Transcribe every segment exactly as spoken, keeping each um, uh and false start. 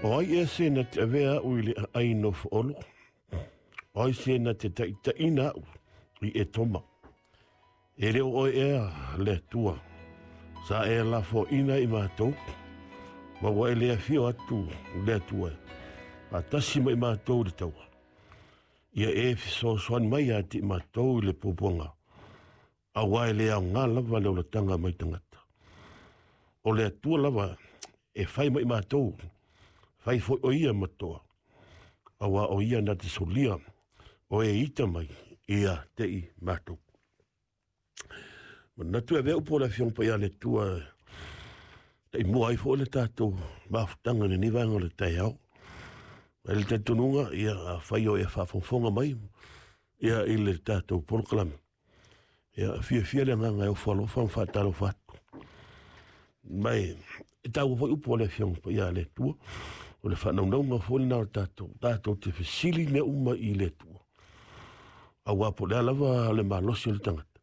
O ai ea se na te avea a'u i le aai nofoolo? O ai se na te taʻitaʻina a'u i Etoma? E le o oe ea le Atua sa e lafoaina i matou, ma ua e le afio atu le Atua faatasi ma i matou i le taua? Ia e fesoasoani mai ia te i matou i le puapuaga, auā e le aogā lava le olataga mai tagata. O le Atua lava e fai ma i matou, fai foi o ia ma toa, auā o ia na te solia o e ita mai ia te i matou. Manatu e avea upu o le Afioga Paia a le Atua taimua ai foi le tatou mafutaga i lenei vaega o le taeao. Ai le talitonuga, ia, afai o e faafogafoga mai ia i le tatou polokalame, ia fiafia le agaga e ofo alofa ma faatalofa atu. Mai e taua foi upu o le Afioga Paia a le Atua, o le faanaunauga foi lena o tatou, tatou te fesili mea uma i le Atua. Auā po o le a lava le malosi o le tagata,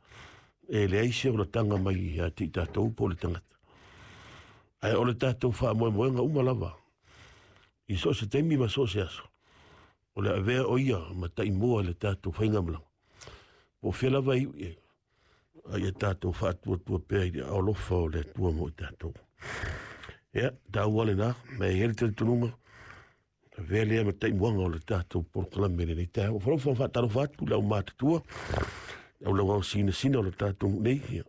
e leai se olataga mai ia te i tatou po o le tagata. Ae o le tatou faamoemoega uma lava, i so o se taimi ma so o se aso, o le avea o ia ma taimua i le tatou faigamalaga. Po o fea lava e iu i ai, a ia tatou faatuatua pea i le aolofa o le Atua mo i tatou. Ia, taua lena, ma e i ai le talitonuga, avea lea ma taimuaga o le tatou polokalame i lenei taeao. Ua falofa ma faatalofa atu le aumatutua, le aulauao sinasina o le tatou nuu nei, ia,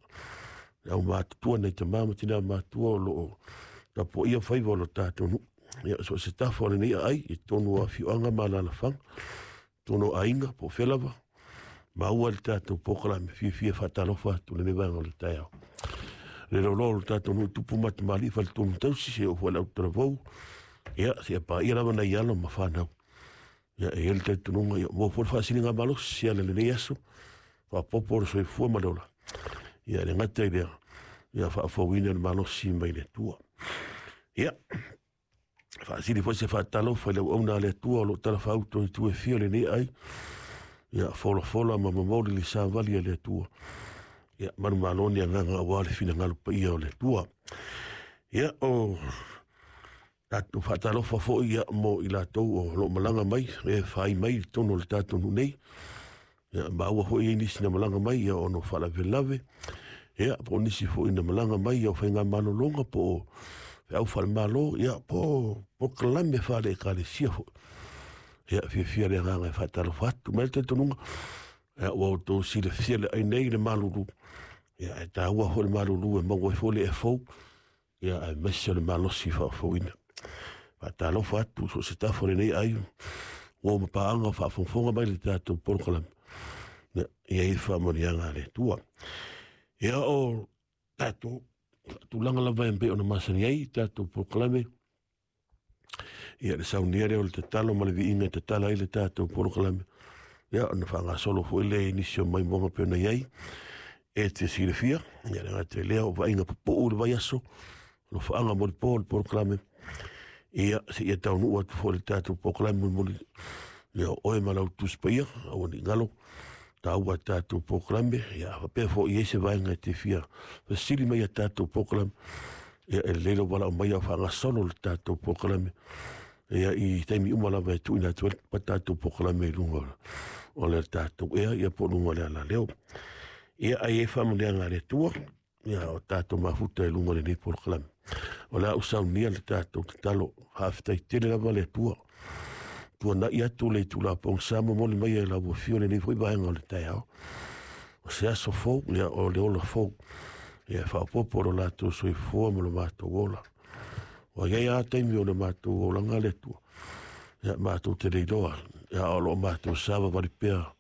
le aumatutua nai tama ma tina matua o lo o tapuaia faiva o le tatou nuu. Ia, so o se tafa o lenei aai, i totonu o afioaga ma alaalafaga, totonu o aiga, po o fea lava, maua le tatou polokalame, fiafia faatalofa atu lenei vaega o le taeao. Le loaloa o le tatou nuu tupu ma tamalii faletonu tausi, seia oo foi i le autalavou, ia, seia paia lava nai alo ma fanau. Ia, e i ai le talitonuga, ia, maua foi le faasiligamalosi e ala i lenei aso, faaopoopo o le soifua ma le ola. Ia, e le gata i lea, ia faafouina le malosi mai le Atua. Ia, faasili foi se faatalofa i le auauna a le Atua o lo o talafaauto i itu e fia o lenei ai. Ia, folafola ma momoli le savali a le Atua. Ia, manumalo ni agaga aua le finagalo paia o le Atua. Ia, o tatou faatalofa foi ia mo i latou o lo o malaga mai, e fai mai i totonu o le tatou nuu nei. Ia, maua foi i ai nisi na malaga mai ia ona o faalavelave, ia, po o nisi foi na malaga mai ia o faigamalologa po o feau faale-Malo, ia, po o polokalame faale-Ekalesia foi. Ia, fiafia le agaga e faatalofa atu. Mai le talitonuga, ia, ua outou silafia le ai nei le malulu, ia, ae taua foi le malulu e maua ai foi le ea fou, ia, aemaise o le malosi faafouina. Faatalofa atu so o se tafa o lenei ai, ua ma paaga o faafogafoga mai le tatou polokalame, ia, i ai faamanuiaga a le Atua. Ia, o tatou tulaga lava e pei ona masani ai tatou polokalame, ia, le saunia lea o le tatalo ma le viiga e tatala ai le tatou polokalame, ia, ona faagasolo foi lea i nisi o maimoaga pei ona i ai e te silafia. Ia, le gata i lea o vaaiga pupuu le vaiaso, alofaaga mo le po o le polokalame, ia, seia taunuu atu foi le tatou polokalame mulimuli, ia, o oe ma lau Tusi Paia, aua ne i galo taua tatou polokalame. Ia, faapea foi i ai se vaega e te fia fesili mai ia tatou polokalame, ia, e lelei lou valaau mai a o faagasolo le tatou polokalame, ia, i taimi uma lava e tuuina atu ai le tatou polokalame i luga o le tatou ea, ia, po o luga o le alaleo. Ia, ai ai faamanuiaga a le Atua, ia, o tatou mafuta i luga o lenei polokalame. O le a ou saunia le tatou tatalo. Faafetai tele lava le Atua. Tuanai atu le itula pogisa momoli mai e lau afio lenei foi vaega o le taeao. O se aso fou, ia, o le ola fou. Ia, faaopoopo lo latou soifua ma lo matou ola. Ua i ai lava taimi o le matou olaga le Atua. Ia, matou te le iloa, ia, o lo o matou savavali pea.